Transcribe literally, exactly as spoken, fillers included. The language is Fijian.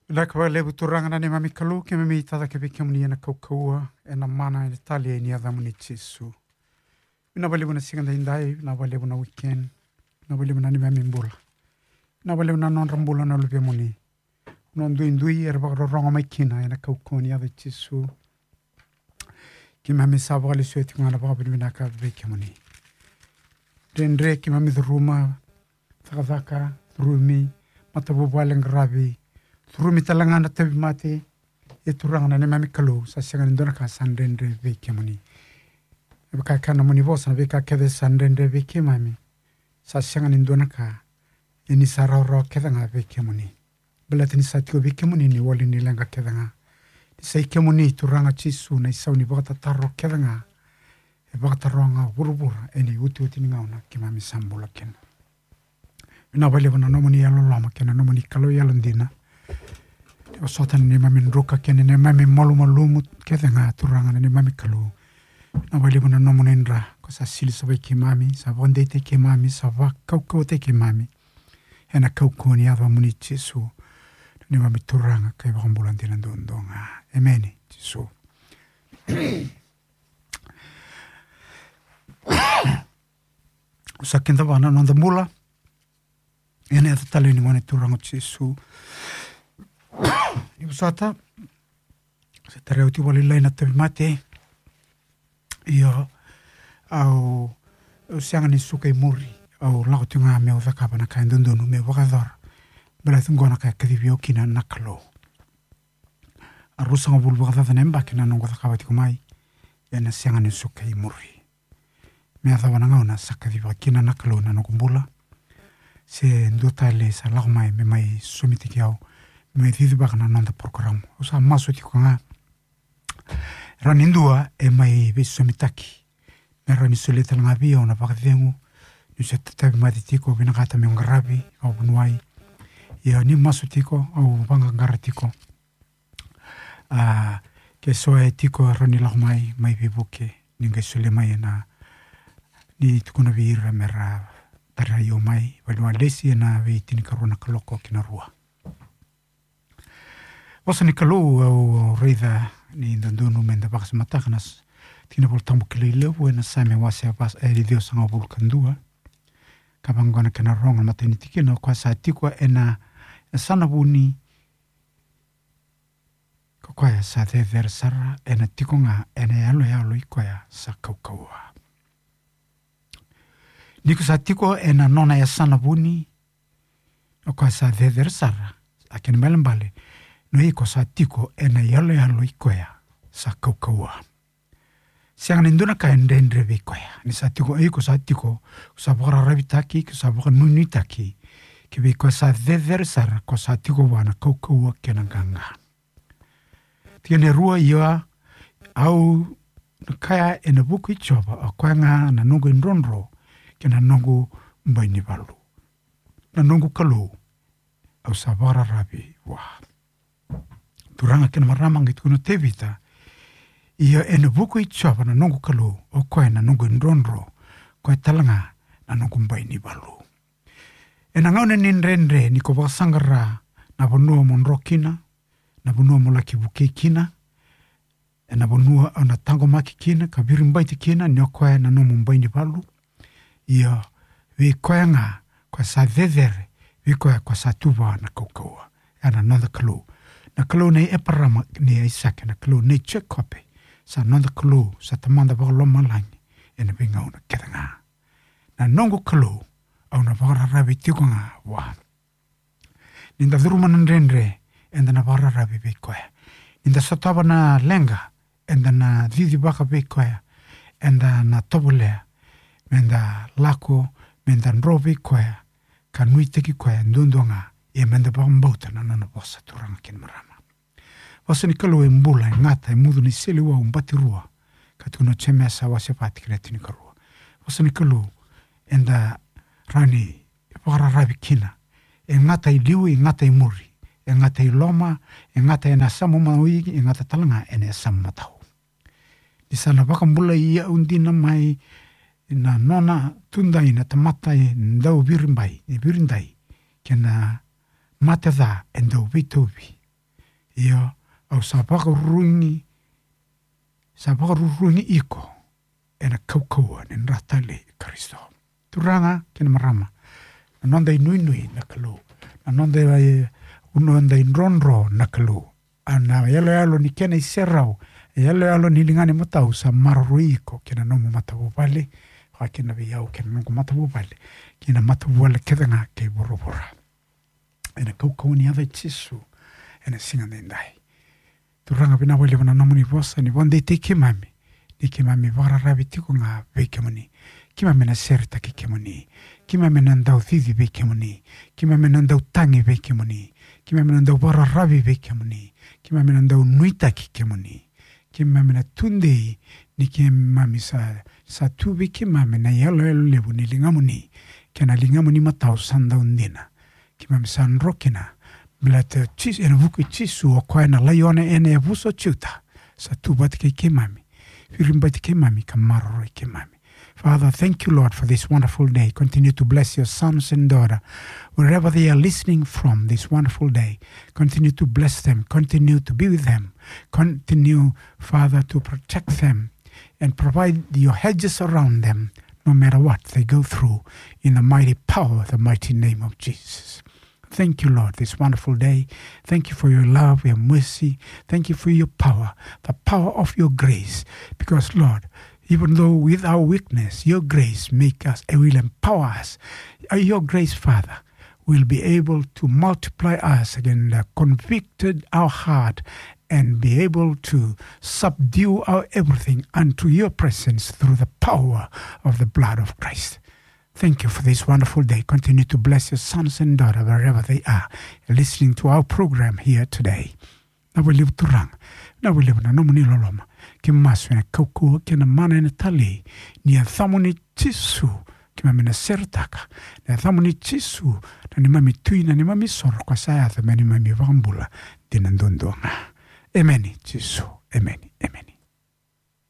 Vinaka vakalevu Turaga na neimami Kalou, keimami tacake vei kemuni ena kaukauwa, ena mana, ena tali ni yacamuni Jisu. Vinaka vakalevu na siga daidai, vinaka vakalevu na weekend, vinaka vakalevu na neimami bula. Vinaka vakalevu na nodra bula na luvemuni. Na duidui era vakarorogo mai kina ena kaukauwa ni yaca i Jisu. Keimami sa vakalesuya tiko ga na vakavinavinaka vei kemuni. Dredre keimami curuma, cakacaka, curumi, matavuvale qaravi, curumi tale ga na tauvimate. E Turaga na neimami Kalou, sa sega ni dua na ka sa dredre vei kemuni. E vaka e kaya na nomuni vosa, na veika kece sa dredre vei keimami, sa sega ni dua na ka, e ni sa rawarawa kece ga vei kemuni. Baleta ni sa tiko vei kemuni na iwali ni leqa kece ga. Ni sa i kemuni Turaga Jisu na isau ni vakatataro kece ga. E vakataroga vuravura ena iotioti ni gauna keimami sa bula kina. Vinaka vakalevu na nomuni yalololoma kei na nomuni Kalou yalodina. E vosota na neimami druka kei na neimami malumalumu kece ga Turaga na neimami Kalou. Vinaka vakalevu na nomuni dra ko sa sili savai keimami, sa vakadeitaki keimami, sa vakaukauwataki keimami. Ena kaukauwa ni yacamuni Jisu, na neimami Turaga kei Vakabula dina duadua ga. Emeni Jisu. Au sa kidavaka na noda bula ena yaca talei ni Gone Turaga o Jisu. Ni vosota, sa tarai au tiko vakalailai na tauvimate. Io, au, au sega ni suka i muri. Au lako tiko ga meu cakava na ka e dodonu meu vakayacora. Baleta qo na ka e kacivi au kina na Kalou. A ruasagavulu vakacaca na yabaki na noqu cakava tiko mai. Ena sega ni suka i muri. Me yacova na gauna sa kacivaka kina na Kalou na noqu bula. Se dua tale sa lako mai me mai sosomitaki au, me mai cicivaka na noda porokaramu. Au sa masu tiko ga. Rawa ni dua e mai veisosomitaki. Me rawa ni solia tale ga vei au na vakacegu. Niu se tatavi mate tiko, vinakata meu qaravi, au vuniwai. Ia ni masu tiko, au vaqaqara tiko. A, ke so e tiko rawa ni lako mai, mai veivuke, ni qai solia mai ena, ni tukuna vei ira me ra tarai au mai, valiwa lesi ena veitinikarua na kaloko ki na rua. Vosa ni Kalou au raica ni dodonu me da vakasamataka na s-, tikina Volatabu kilai levu ena Same wase e ciwasagavulu ka dua. Ka vaqo na kena rogo na matai ni tikina, o koya sa tiko ena, e, yasana vuni, ko koya sa cecere sara, ena tiko ga ena yaloyalo i koya sa kaukauwa. Ni ko sa tiko ena nona yasana vuni, o koya sa cecere sara, a kena ibalebale, no iko sa tiko ena yaloyalo i koya sa kaukauwa. Sega ni dua na ka e dredre vei koya. Ni sa tiko, iko sa tiko, ko sa vakararavitaki, ko sa vakanuinuitaki. Ki vei koya sa cecere sara, ko sa tiko vua na kaukauwa kei na qaqa. Tikina e rua, ia, au na kaya ena vuku i Jiova, o koya ga na noqu idrodro, kei na noqu bai ni valu. Na noqu Kalou, au sa vakararavi vua. Turaga kei na marama, qai tukuna o Tevita, ia ena vuku i Jiova na noqu Kalou, o koya na noqu idrodro, koya tale ga na noqu bai ni valu. Ena gauna ni dredre ni ko vakasaqara na vanua mo dro kina, na vanua mo laki vukei kina, ena vanua au na taqomaki kina ka viribaiti kina ni o koya na nomu bai ni valu. Ia, vei koya ga, koya sa cecere, vei koya, koya sa tu vua na kaukauwa. Ia na noda Kalou. Na Kalou nei Eparama, nei Aisake, na Kalou nei Jekope. Sa noda Kalou, sa Tamada vakalomalagi, ena veigauna kece ga. Na noqu Kalou, au na vakararavi tiko ga vua. Ni da curuma na dredre, eda na vakararavi vei koya. Ni da sotava na leqa, eda na cicivaka vei koya. Eda na tovolea, me da lako, me da dro vei koya, ka nuitaki koya duadua ga, ia me da vakabauta na nona vosa Turaga kei na marama. Vosa ni Kalou e bula, e gata, e mucu ni seleiwau batirua. Ka tukuna o Jemesa wase va tikina e tinikarua. Vosa ni Kalou, eda rawa ni vakararavi kina. E gata i liu, e gata i muri. E gata i loma, e gata ena yasamu mawi, e gata tale ga ena yasamu matau. Ni sa na vakabulai au dina mai na nona tudai na tamata e dau viribai, e viridai, kei na mate ca e dau veitauvi. Io, au sa vakarurugi, sa vakarurugi iko ena kaukauwa ni dra talei i Karisito. Turaga kei na marama, na noda inuinui na Kalou, na noda, e, noda idrodro na Kalou. A na yaloyalo ni kena iserau, e yaloyalo ni ligana imatau sa maroroi iko kei na nomu matavuvale, vaka kina vei au kei na noqu matavuvale, kei na matavuvale kece ga kei vuravura. Ena kaukauwa ni yaca i Jisu, ena siga daidai. Turaga vinaka vakalevu na nomuni vosa ni vakadeitaki keimami, ni keimami vakararavi tiko ga vei kemuni. Keimami na seretaki kemuni. Keimami na dau cici vei kemuni. Keimami na dau tagi vei kemuni. Keimami na dau vakararavi vei kemuni. Keimami na dau nuitaki kemuni. Keimami na tudei ni keimami sa, sa tu vei keimami na yaloyalo levu ni ligamuni, kei na ligamuni matau sa dau dina. Keimami sa dro kina, baleta Jisu, ena vuku i Jisu, o koya na laione ena yavusa o Juta, sa tu vata kei keimami, viribati keimami ka maroroi keimami. Father, thank you, Lord, for this wonderful day. Continue to bless your sons and daughter, wherever they are listening from this wonderful day. Continue to bless them. Continue to be with them. Continue, Father, to protect them and provide your hedges around them, no matter what they go through, in the mighty power, the mighty name of Jesus. Thank you, Lord, this wonderful day. Thank you for your love, your mercy. Thank you for your power, the power of your grace. Because, Lord, even though with our weakness, your grace make us, it will empower us. Uh, your grace, Father, will be able to multiply us again, uh, convicted our heart, and be able to subdue our everything unto your presence through the power of the blood of Christ. Thank you for this wonderful day. Continue to bless your sons and daughters wherever they are listening to our program here today. Vinaka vakalevu Turaga, vinaka vakalevu na nomuni loloma. Keimami masu ena kaukauwa kei na mana ena talei ni yacamuni Jisu, keimami na seretaka. Na yacamuni Jisu, na neimami Tui, na neimami isoro, ka sa yaco me neimami iVakabula dina duadua ga. Emeni Jisu, emeni, emeni.